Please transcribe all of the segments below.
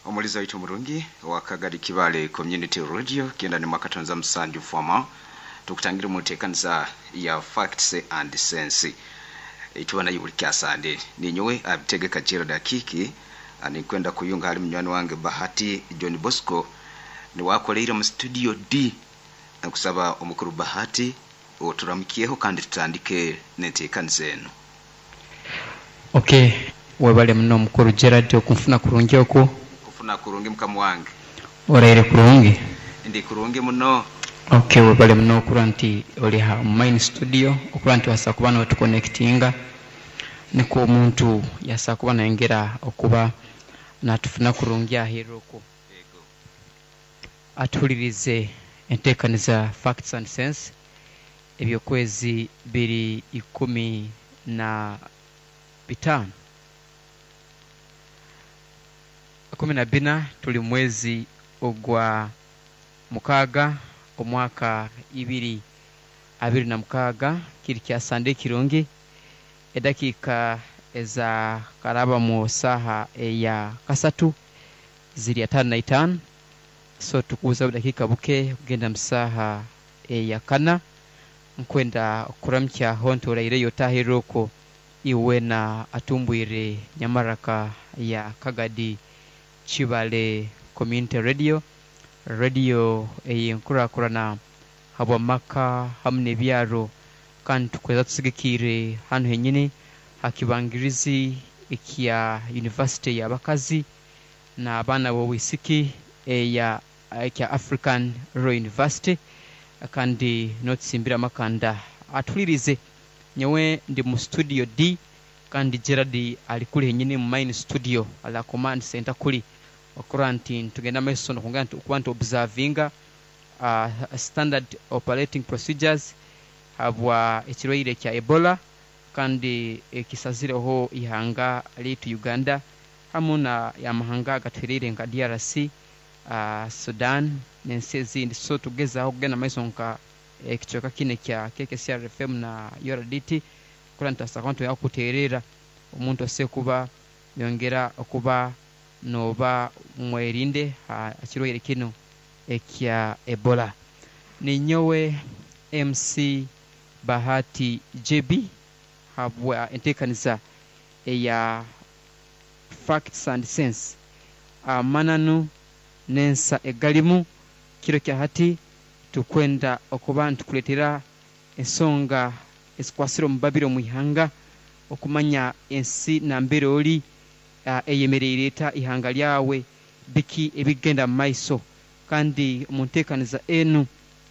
Omulizi waitu murungi wa Kagadi Kibale Community Radio kenda ni mwakatonza musanju foma tukutangire mu nteekaniza ya Facts and Sense ituba nayo buli kyasande. Ninyowe abitegeka Gerald Akiki, nikwenda kuyunga hali munywani wange Bahati John Bosco niwakoleire mu studio D. Nkusaba omukuru Bahati oturamukyeho kandi tutandike n'enteekaniza eno. Okay, webale muno mukuru Gerald okunfuna kurungi oku. Kufuna kurungi mukama wange. Oraire kurungi? Ndi kurungi muno. Okay, webale muno okura nti oli ha main studio, okura nti wasa kuba notuconnectinga nikwo omuntu yasa kuba nayongera okuba natufuna kurungi aheeru okwo. Atuhulirize enteekaniza Facts and Sense ebyokwezi biri 15. 14 tuli mwezi ogwa mukaaga omwaka 2026 kiri kya Sande kirungi edakiika eza karaba mu saaha eya kasatu ziri 55, so tukubuza budakiika buke kugenda mu saaha eya kana. Nkwenda okuramukya honto oraireyo otahirra okwo iwe na atumbwire nyamaraka ya Kagadi Kibale Community Radio, radio ey'enkurakurana habw'amaka hamu n'ebyaro, kandi tukweza tusigikiire hanu henyini ha kibangirizi ekya University y'abakazi n'abaana b'obwisiki eya ekya African Royal University, kandi n'otusimbira amakanda atuhulirize. Nyowe ndi mu studio D kandi Gerald ali kuli henyini mu main studio ala command center kuli okura nti ntugenda maiso nokongera nti okuba nti observinga standard operating procedures habwa ekirwaire kya Ebola kandi ekisazireho ihanga lyaitu Uganda hamu na amahanga agatuhereire nka DRC, Sudan n'ensi ezindi. So tugezaho kugenda maiso nka ekicweka kinu kya KKCRFM na URDT kura nitubaasa kuba kuterera omuntu ase kuba yongera okuba noba mwerinde ha kirwaire kinu ekya Ebola. Ninyowe MC Bahati JB habwa enteekaniza eya Facts and Sense, amananu n'ensa egalimu. Kiro kya hati tukwenda okuba nitukuleetera ensonga ezikwasire omu babiri omu ihanga, okumanya ensi nambere ori eyemereire eta, ihanga lyawe biki ebigenda mu maiso. Kandi omu nteekaniza enu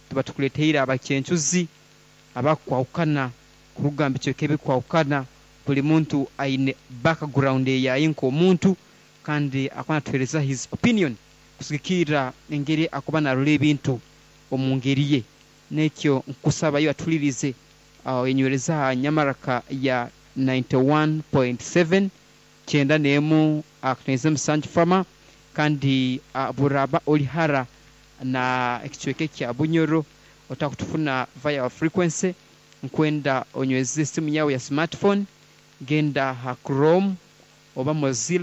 tuba tukuleeteire abakyencuzi abakwahukana kuruga mu bicweka ebikwahukana, buli muntu aine background eyaye nk'omuntu, kandi akuba natuheereza his opinion kusigikirra engeri akuba narora ebintu omu ngeri ye. Nekyo nkusaba yo atulirize enywereza ha nyamaraka ya 91.7 91 7 fama, kandi buraba oli hara na ekicweka kya Bunyoro otakutufuna via our frequency, nkwenda onyweze esimu yawe ya smartphone, genda ha Chrome oba Mozilla.